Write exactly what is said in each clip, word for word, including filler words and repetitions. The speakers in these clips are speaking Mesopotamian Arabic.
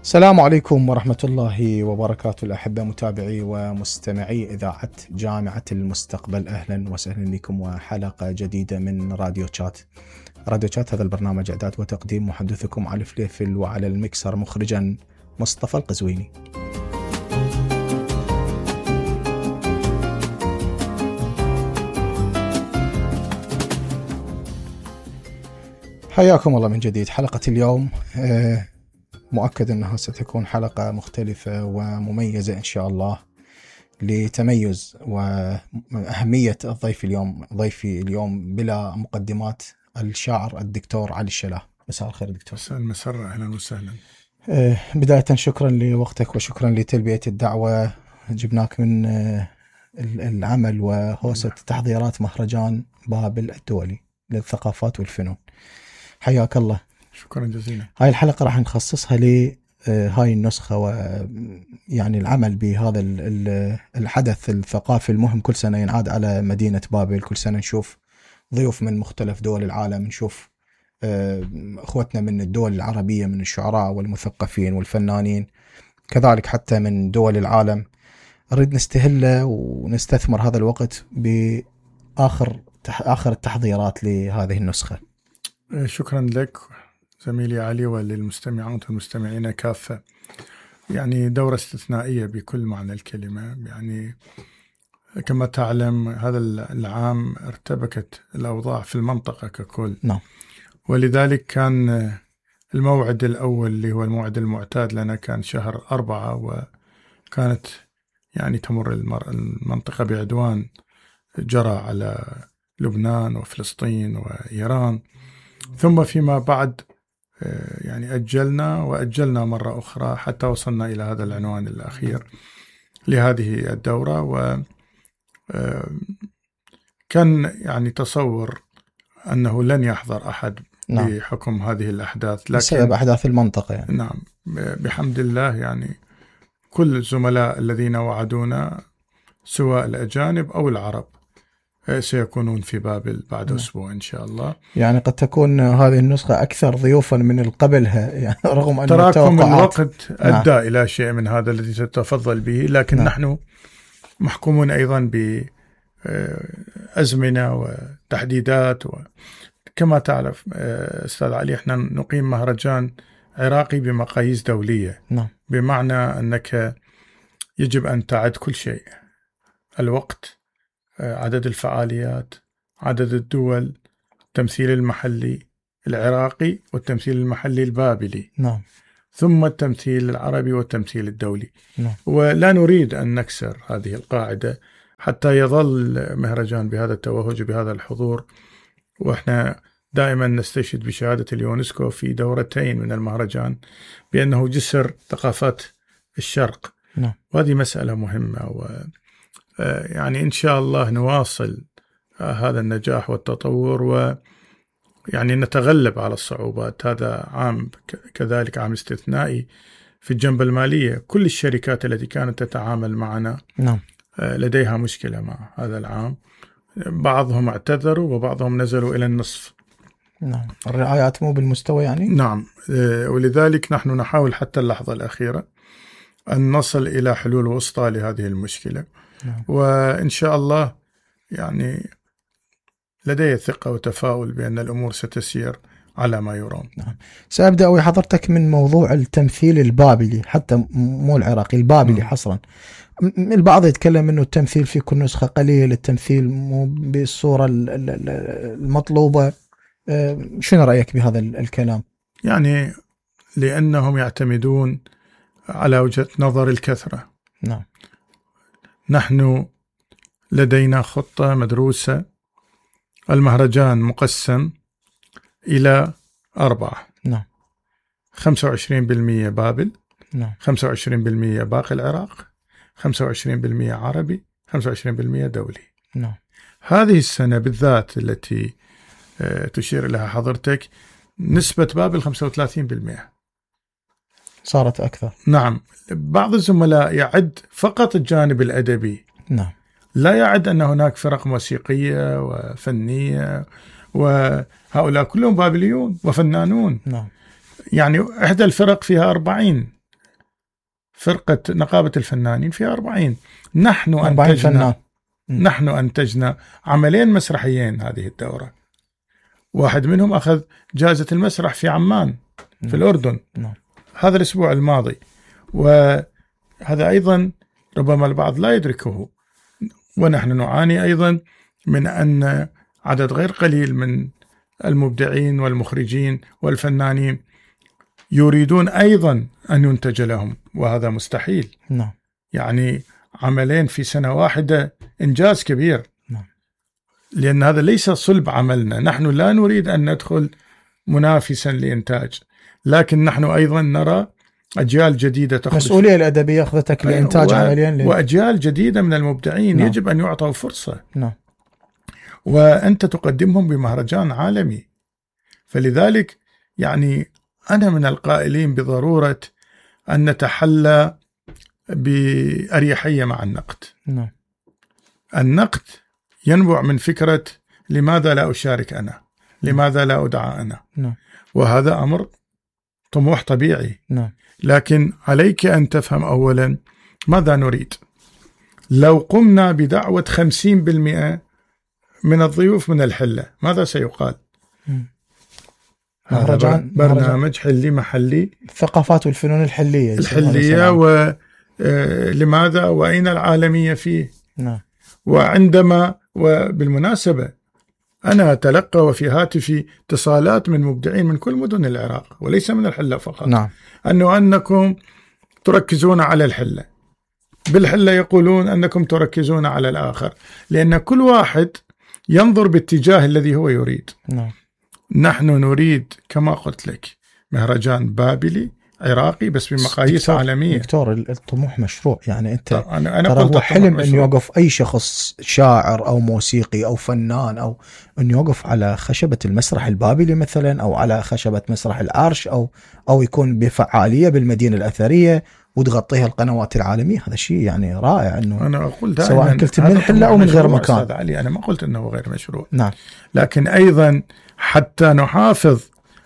السلام عليكم ورحمة الله وبركاته. الأحبة متابعي ومستمعي إذاعة جامعة المستقبل، أهلا وسهلا بكم وحلقة جديدة من راديو شات. راديو شات هذا البرنامج إعداد وتقديم محدثكم علي فليفل، وعلى المكسر مخرجا مصطفى القزويني. حياكم الله من جديد. حلقة اليوم آه مؤكد أنها ستكون حلقة مختلفة ومميزة إن شاء الله، لتميز وأهمية الضيف اليوم. ضيفي اليوم بلا مقدمات الشاعر الدكتور علي الشلاه. مساء الخير دكتور. مساء المسرة، أهلا وسهلا. بداية شكرا لوقتك وشكرا لتلبية الدعوة. جبناك من العمل وهوسة تحضيرات مهرجان بابل الدولي للثقافات والفنون. حياك الله. شكرا جزيلا. هاي الحلقة راح نخصصها لهاي النسخة، ويعني العمل بهذا الحدث الثقافي المهم. كل سنة ينعاد على مدينة بابل، كل سنة نشوف ضيوف من مختلف دول العالم، نشوف أخوتنا من الدول العربية، من الشعراء والمثقفين والفنانين، كذلك حتى من دول العالم. نريد نستهله ونستثمر هذا الوقت بآخر آخر التحضيرات لهذه النسخة. شكرا لك زميلي علي وللمستمعات والمستمعين كافة. يعني دورة استثنائية بكل معنى الكلمة. يعني كما تعلم هذا العام ارتبكت الأوضاع في المنطقة ككل. نعم. ولذلك كان الموعد الأول اللي هو الموعد المعتاد لنا كان شهر أربعة، وكانت يعني تمر المنطقة بعدوان جرى على لبنان وفلسطين وإيران، ثم فيما بعد يعني أجلنا وأجلنا مرة أخرى حتى وصلنا إلى هذا العنوان الأخير لهذه الدورة. وكان يعني تصور أنه لن يحضر أحد. نعم. بحكم هذه الأحداث، لكن بسبب أحداث المنطقة يعني. نعم، بحمد الله يعني كل الزملاء الذين وعدونا سواء الأجانب أو العرب سيكونون في بابل بعد نعم. أسبوع إن شاء الله. يعني قد تكون هذه النسخة أكثر ضيوفا من قبلها، يعني رغم أن تراكم الوقت أدى نعم. إلى شيء من هذا الذي تتفضل به، لكن نعم. نحن محكومون أيضا بأزمنة وتحديدات. وكما تعرف أستاذ علي، احنا نقيم مهرجان عراقي بمقاييس دولية. نعم. بمعنى أنك يجب أن تعد كل شيء: الوقت، عدد الفعاليات، عدد الدول، التمثيل المحلي العراقي والتمثيل المحلي البابلي. نعم. ثم التمثيل العربي والتمثيل الدولي. نعم. ولا نريد أن نكسر هذه القاعدة حتى يظل مهرجان بهذا التوهج بهذا الحضور. وإحنا دائما نستشهد بشهادة اليونسكو في دورتين من المهرجان بأنه جسر ثقافات الشرق. نعم. وهذه مسألة مهمة، و يعني إن شاء الله نواصل هذا النجاح والتطور، ويعني نتغلب على الصعوبات. هذا عام كذلك عام استثنائي في الجنبة المالية. كل الشركات التي كانت تتعامل معنا نعم. لديها مشكلة مع هذا العام. بعضهم اعتذروا وبعضهم نزلوا إلى النصف. نعم. الرعايات مو بالمستوى يعني. نعم. ولذلك نحن نحاول حتى اللحظة الأخيرة أن نصل إلى حلول وسطى لهذه المشكلة. نعم. وإن شاء الله يعني لدي ثقة وتفاؤل بأن الأمور ستسير على ما يرام. نعم. سأبدأ وحضرتك من موضوع التمثيل البابلي، حتى مو العراقي، البابلي م. حصرا. البعض يتكلم أنه التمثيل في كل نسخة قليل، التمثيل مو بالصورة المطلوبة. شنو رأيك بهذا الكلام؟ يعني لأنهم يعتمدون على وجهة نظر الكثرة. نعم. نحن لدينا خطة مدروسة. المهرجان مقسم إلى أربعة. نعم. خمسة وعشرين بالمئة بابل. نعم. خمسة وعشرين بالمئة باقي العراق. خمسة وعشرين بالمئة عربي. خمسة وعشرين بالمئة دولي. نعم. هذه السنة بالذات التي تشير لها حضرتك نسبة بابل خمسة وثلاثين بالمئة. صارت أكثر. نعم. بعض الزملاء يعد فقط الجانب الأدبي. نعم. لا يعد أن هناك فرق موسيقية وفنية، وهؤلاء كلهم بابليون وفنانون. نعم. يعني إحدى الفرق فيها أربعين فرقة نقابة الفنانين فيها أربعين. نحن أربعين فنان. نحن أنتجنا عملين مسرحيين هذه الدورة، واحد منهم أخذ جائزة المسرح في عمان في الأردن هذا الأسبوع الماضي، وهذا أيضا ربما البعض لا يدركه. ونحن نعاني أيضا من أن عدد غير قليل من المبدعين والمخرجين والفنانين يريدون أيضا أن ينتج لهم، وهذا مستحيل. نعم. يعني عملين في سنة واحدة إنجاز كبير. نعم. لأن هذا ليس صلب عملنا، نحن لا نريد أن ندخل منافسا لإنتاج، لكن نحن أيضا نرى أجيال جديدة تخرج. مسؤولية الأدبية أخذتك لإنتاج و... عمليا ل... وأجيال جديدة من المبدعين. نعم. يجب أن يعطوا فرصة. نعم. وأنت تقدمهم بمهرجان عالمي، فلذلك يعني أنا من القائلين بضرورة أن نتحلى بأريحية مع النقد. نعم. النقد ينبع من فكرة لماذا لا أشارك أنا، لماذا لا أدعى أنا. نعم. وهذا أمر طموح طبيعي. نعم. لكن عليك أن تفهم أولا ماذا نريد. لو قمنا بدعوة خمسين بالمئة من الضيوف من الحلة ماذا سيقال؟ مهرجان برنامج حلي محلي، الثقافات والفنون الحلية الحلية، ولماذا وأين العالمية فيه؟ نعم. وعندما وبالمناسبة أنا أتلقى وفي هاتفي اتصالات من مبدعين من كل مدن العراق وليس من الحلة فقط. نعم. أنه أنكم تركزون على الحلة، بالحلة يقولون أنكم تركزون على الآخر، لأن كل واحد ينظر باتجاه الذي هو يريد. نعم. نحن نريد كما قلت لك مهرجان بابلي عراقي بس بمقاييس دكتور عالمية. دكتور الطموح مشروع، يعني أنت أنا أنا ترى قلت هو حلم أن مشروع. يوقف أي شخص شاعر أو موسيقي أو فنان أو أن يوقف على خشبة المسرح البابلي مثلا، أو على خشبة مسرح العرش، أو أو يكون بفعالية بالمدينة الأثرية وتغطيها القنوات العالمية. هذا شيء يعني رائع. أنه أنا أقول دائما سواء كنت من الحلة أو من غير مكان. أستاذ علي أنا ما قلت أنه غير مشروع. نعم. لكن أيضا حتى نحافظ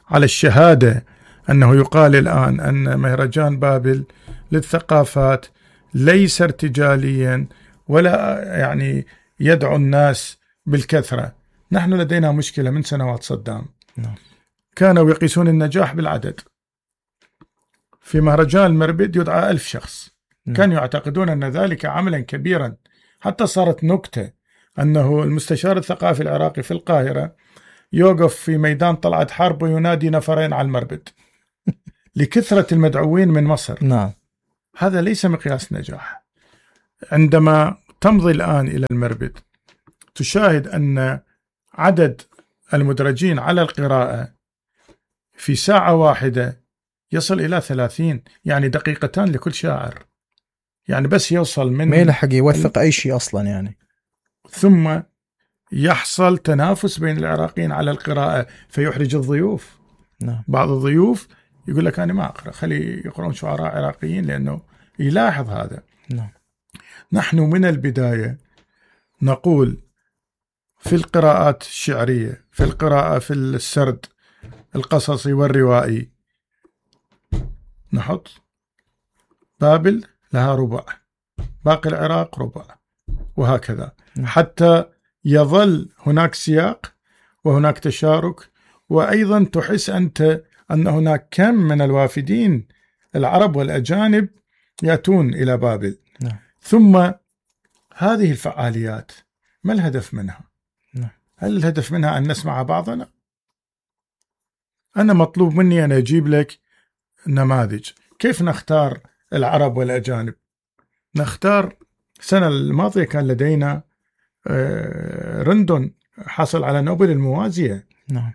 على الشهادة أنه يقال الآن أن مهرجان بابل للثقافات ليس ارتجاليا ولا يعني يدعو الناس بالكثرة. نحن لدينا مشكلة من سنوات صدام. نعم. كانوا يقيسون النجاح بالعدد. في مهرجان المربد يدعى ألف شخص. نعم. كانوا يعتقدون أن ذلك عملا كبيرا، حتى صارت نكتة أنه المستشار الثقافي العراقي في القاهرة يوقف في ميدان طلعت حرب وينادي نفرين على المربد لكثرة المدعوين من مصر. نعم. هذا ليس مقياس نجاح. عندما تمضي الآن إلى المربد تشاهد أن عدد المدرجين على القراءة في ساعة واحدة يصل إلى ثلاثين، يعني دقيقتان لكل شاعر، يعني بس يوصل من ما يلحق يوثق أي شيء أصلا يعني. ثم يحصل تنافس بين العراقيين على القراءة فيحرج الضيوف. نعم. بعض الضيوف يقول لك أنا ما أقرأ، خلي يقرؤون شعراء عراقيين لأنه يلاحظ هذا. نعم. نحن من البداية نقول في القراءات الشعرية، في القراءة في السرد القصصي والروائي نحط بابل لها ربع، باقي العراق ربع، وهكذا حتى يظل هناك سياق وهناك تشارك. وأيضا تحس أنت أن هناك كم من الوافدين العرب والأجانب يأتون إلى بابل. نعم. ثم هذه الفعاليات ما الهدف منها؟ نعم. هل الهدف منها أن نسمع بعضنا؟ أنا مطلوب مني أن أجيب لك نماذج. كيف نختار العرب والأجانب؟ نختار السنة الماضية كان لدينا رندون حصل على نوبل الموازية. نعم.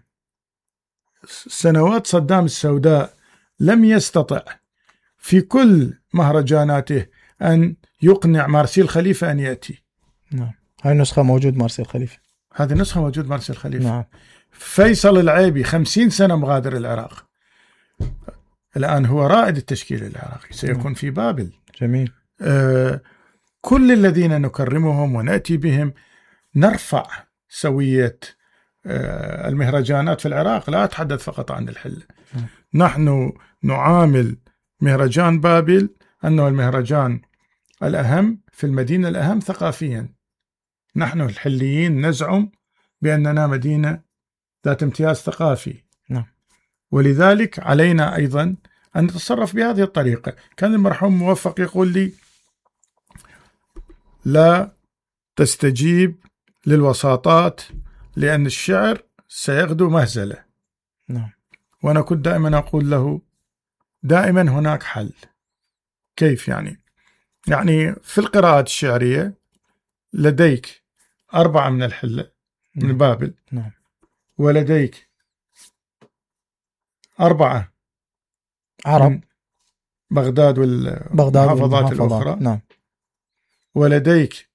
سنوات صدام السوداء لم يستطع في كل مهرجاناته أن يقنع مارسيل خليفة أن يأتي. نعم. هاي النسخة موجود مارسيل خليفة. هذه النسخة موجود مارسيل خليفة. نعم. فيصل العيبي خمسين سنة مغادر العراق، الآن هو رائد التشكيل العراقي، سيكون نعم. في بابل. جميل. آه كل الذين نكرمهم ونأتي بهم نرفع سوية آه المهرجانات في العراق. لا أتحدث فقط عن الحلة. نعم. نحن نعامل مهرجان بابل أنه المهرجان الأهم في المدينة، الأهم ثقافيا. نحن الحليين نزعم بأننا مدينة ذات امتياز ثقافي، نعم. ولذلك علينا أيضا أن نتصرف بهذه الطريقة. كان المرحوم موفق يقول لي: لا تستجيب للوساطات لأن الشعر سيغدو مهزلة. نعم. وأنا كنت دائما أقول له: دائما هناك حل. كيف يعني؟ يعني في القراءات الشعرية لديك أربعة من الحلة من نعم. بابل، نعم. ولديك أربعة عرب بغداد والمحافظات الأخرى، نعم. ولديك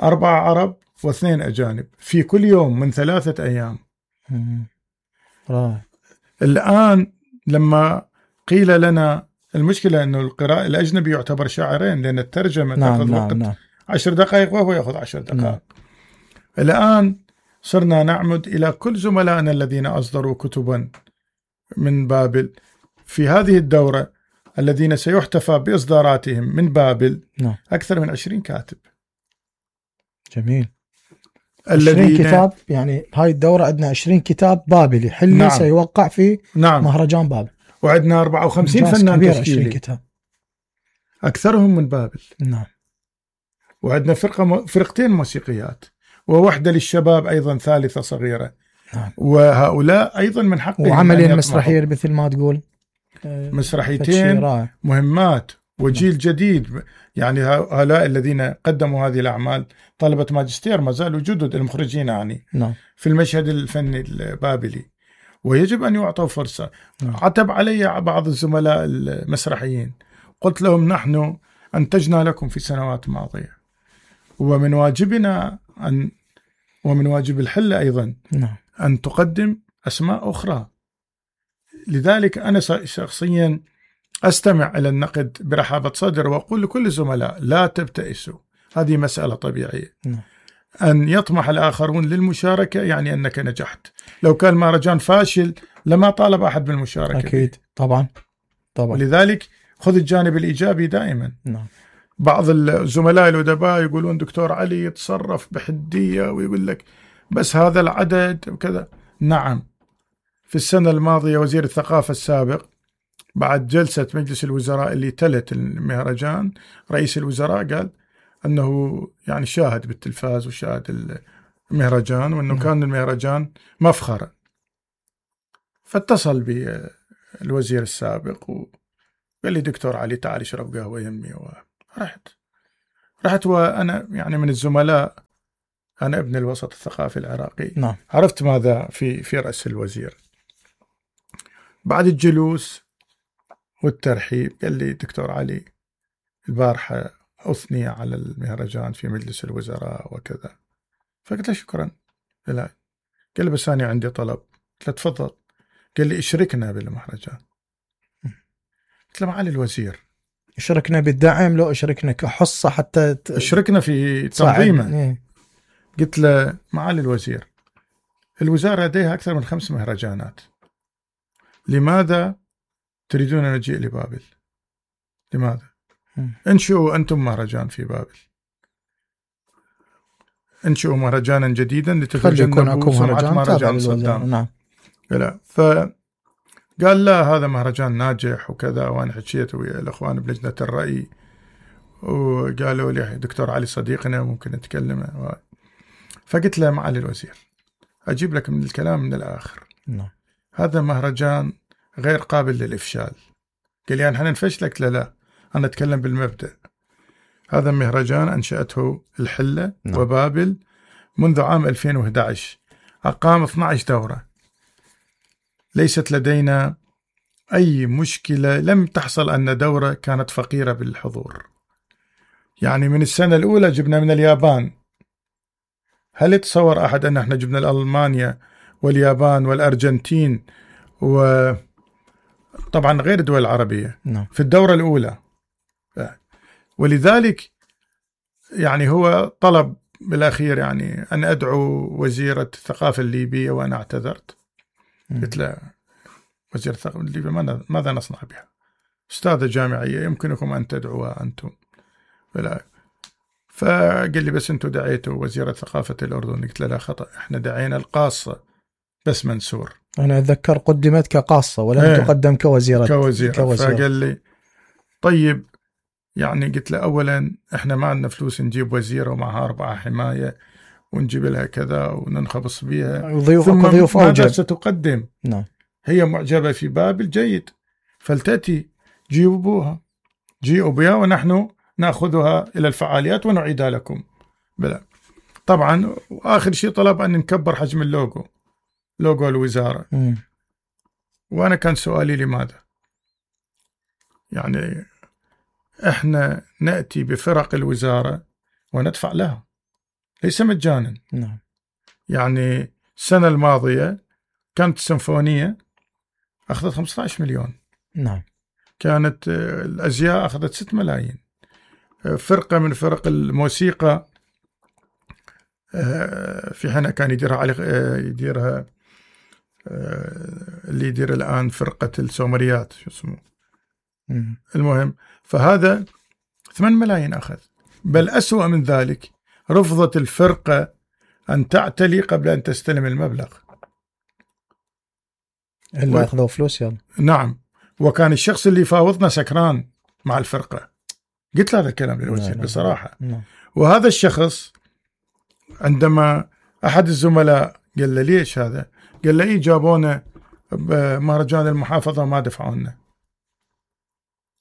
أربعة عرب واثنين أجانب في كل يوم من ثلاثة أيام. رائع. الآن لما قيل لنا المشكلة أنه القراءة الأجنبي يعتبر شاعرين لأن الترجمة نعم. تأخذ نعم. وقت نعم. عشر دقائق وهو يأخذ عشر دقائق. نعم. الآن صرنا نعمد إلى كل زملائنا الذين أصدروا كتبا من بابل في هذه الدورة الذين سيحتفى بإصداراتهم من بابل. نعم. أكثر من عشرين كاتب. جميل. الذين عشرين كتاب، يعني هاي الدورة عندنا عشرين كتاب بابلي حلي. نعم. سيوقع في نعم. مهرجان بابل. وعندنا أربعة وخمسين فنان تشكيلي كتاب. أكثرهم من بابل. نعم. وعندنا فرقة م... فرقتين موسيقيات ووحدة للشباب أيضا ثالثة صغيرة. نعم. وهؤلاء الذين من حقهم وعملين مسرحية مثل ما تقول، مسرحيتين مهمات وجيل نعم. جديد. يعني هؤلاء الذين قدموا هذه الأعمال طلبة ماجستير ما زالوا جدد المخرجين يعني نعم. في المشهد الفني البابلي، ويجب أن يعطوا فرصة. نعم. عتب علي بعض الزملاء المسرحيين، قلت لهم: نحن أنتجنا لكم في سنوات ماضية، ومن واجبنا أن ومن واجب الحلة أيضا نعم. أن تقدم أسماء أخرى. لذلك أنا شخصيا أستمع إلى النقد برحابة صدر، وأقول لكل الزملاء: لا تبتئسوا، هذه مسألة طبيعية. نعم. أن يطمح الآخرون للمشاركة يعني أنك نجحت. لو كان مهرجان فاشل لما طالب أحد بالمشاركة. أكيد. طبعا طبعا. ولذلك خذ الجانب الإيجابي دائما. نعم. بعض الزملاء الأدباء يقولون دكتور علي يتصرف بحدية ويقول لك بس هذا العدد وكذا. نعم، في السنة الماضية وزير الثقافة السابق بعد جلسة مجلس الوزراء اللي تلت المهرجان، رئيس الوزراء قال أنه يعني شاهد بالتلفاز وشاهد المهرجان وأنه م. كان المهرجان مفخرة. فاتصل بالوزير السابق وقال لي: دكتور علي تعال اشرب قهوة يمي. ورحت رحت وأنا يعني من الزملاء، أنا ابن الوسط الثقافي العراقي. نعم. عرفت ماذا في في رأس الوزير. بعد الجلوس والترحيب قال لي: دكتور علي البارحة أثني على المهرجان في مجلس الوزراء وكذا. فقلت له: شكرا. لا. قال لي: بس أنا عندي طلب. قلت له: تفضل. قال لي: اشركنا بالمهرجان. قلت له: معالي الوزير، اشركنا بالدعم لو اشركنا كحصة حتى ت... اشركنا في تنظيمه. إيه؟ قلت له: معالي الوزير، الوزارة لديها أكثر من خمس مهرجانات، لماذا تريدون أن نجيء لبابل؟ لماذا؟ م. انشئوا أنتم مهرجان في بابل، انشئوا مهرجانا جديدا لتتجنبوا سمعة مهرجان صدام. نعم. لا. فقال: لا، هذا مهرجان ناجح وكذا. وأنا حكيت ويا الأخوان بلجنة الرأي وقالوا لي: دكتور علي صديقنا ممكن نتكلم. فقلت له: معالي الوزير، أجيب لك من الكلام من الآخر. نعم. هذا مهرجان غير قابل للإفشال. قال لي: يعني احنا نفشلك؟ لا لا، أنا أتكلم بالمبدأ. هذا مهرجان أنشأته الحلة نعم. وبابل منذ عام ألفين وأحد عشر، أقام اثنتي عشرة دورة، ليست لدينا أي مشكلة، لم تحصل أن دورة كانت فقيرة بالحضور. يعني من السنة الأولى جبنا من اليابان. هل يتصور أحد أن احنا جبنا ألمانيا واليابان والأرجنتين وطبعا غير الدول العربية نعم. في الدورة الأولى؟ ولذلك يعني هو طلب بالأخير يعني أن أدعو وزيرة الثقافة الليبية، وأنا اعتذرت. قلت له: وزير الثقافة الليبية ماذا نصنع بها؟ أستاذة جامعية يمكنكم أن تدعوها أنتم. فلا فقال لي بس أنتم دعيتوا وزيرة ثقافة الأردن. قلت له لا خطأ، إحنا دعينا القاصة بس منسور. أنا أتذكر قدمت كقاصة ولم ايه تقدم كوزيرة. كوزيرة. كوزيرة. فقال لي طيب يعني قلت له أولا إحنا ما عندنا فلوس نجيب وزيرة ومعها أربعة حماية ونجيب لها كذا وننخبص بيها، ضيوف ثم ضيوف ماذا أوجب. ستقدم؟ نعم. هي معجبة في بابل، جيد، فلتأتي جيبوها، جيئوا بها ونحن نأخذها إلى الفعاليات ونعيدها لكم. بلا طبعا. وآخر شيء طلب أن نكبر حجم اللوجو، لوجو الوزارة. م. وأنا كان سؤالي لماذا؟ يعني إحنا نأتي بفرق الوزارة وندفع لها، ليس مجانا. نعم. يعني السنة الماضية كانت السيمفونية أخذت خمسة عشر مليون. نعم. كانت الأزياء أخذت ستة ملايين. فرقة من فرق الموسيقى في حين كان يديرها علي يديرها اللي يدير الآن فرقة السومريات شو اسمه. م. المهم فهذا ثمانية ملايين أخذ. بل أسوأ من ذلك، رفضت الفرقة أن تعتلي قبل أن تستلم المبلغ. إلا و... أخذوا فلوس يلا. نعم. وكان الشخص اللي فاوضنا سكران مع الفرقة. قلت له هذا الكلام للوزير بصراحة. لا. وهذا الشخص عندما أحد الزملاء قال له ليش هذا؟ قال له إيه جابونا بمهرجان المحافظة وما دفعونا.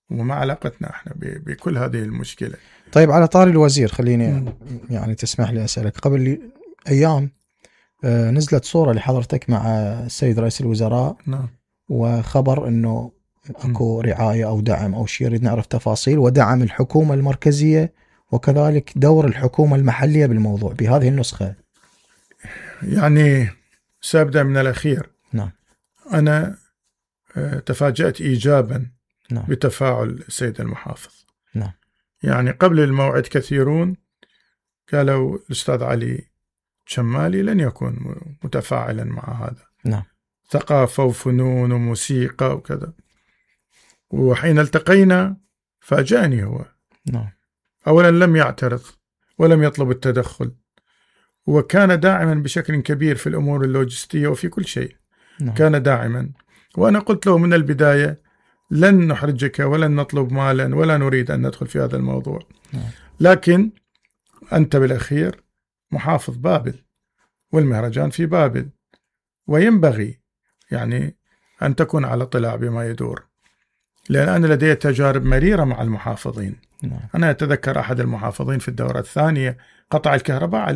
وما علاقتنا احنا بكل هذه المشكلة. طيب على طاري الوزير خليني م. يعني تسمح لي أسألك. قبل أيام نزلت صورة لحضرتك مع السيد رئيس الوزراء. نعم. وخبر أنه أكو رعاية أو دعم أو شيء، يريد نعرف تفاصيل ودعم الحكومة المركزية وكذلك دور الحكومة المحلية بالموضوع بهذه النسخة. يعني سأبدأ من الأخير. نعم. أنا تفاجأت إيجابا نعم. بتفاعل السيد المحافظ. نعم. يعني قبل الموعد كثيرون قالوا الأستاذ علي شمالي لن يكون متفاعلا مع هذا. نعم. ثقافة وفنون وموسيقى وكذا. وحين التقينا فاجأني هو. نعم. أولا لم يعترض ولم يطلب التدخل، وكان داعما بشكل كبير في الأمور اللوجستية وفي كل شيء. نعم. كان داعما. وأنا قلت له من البداية لن نحرجك ولن نطلب مالا ولا نريد أن ندخل في هذا الموضوع. نعم. لكن أنت بالأخير محافظ بابل والمهرجان في بابل، وينبغي يعني أن تكون على اطلاع بما يدور، لأن أنا لدي تجارب مريرة مع المحافظين. نعم. أنا أتذكر أحد المحافظين في الدورة الثانية قطع الكهرباء عليه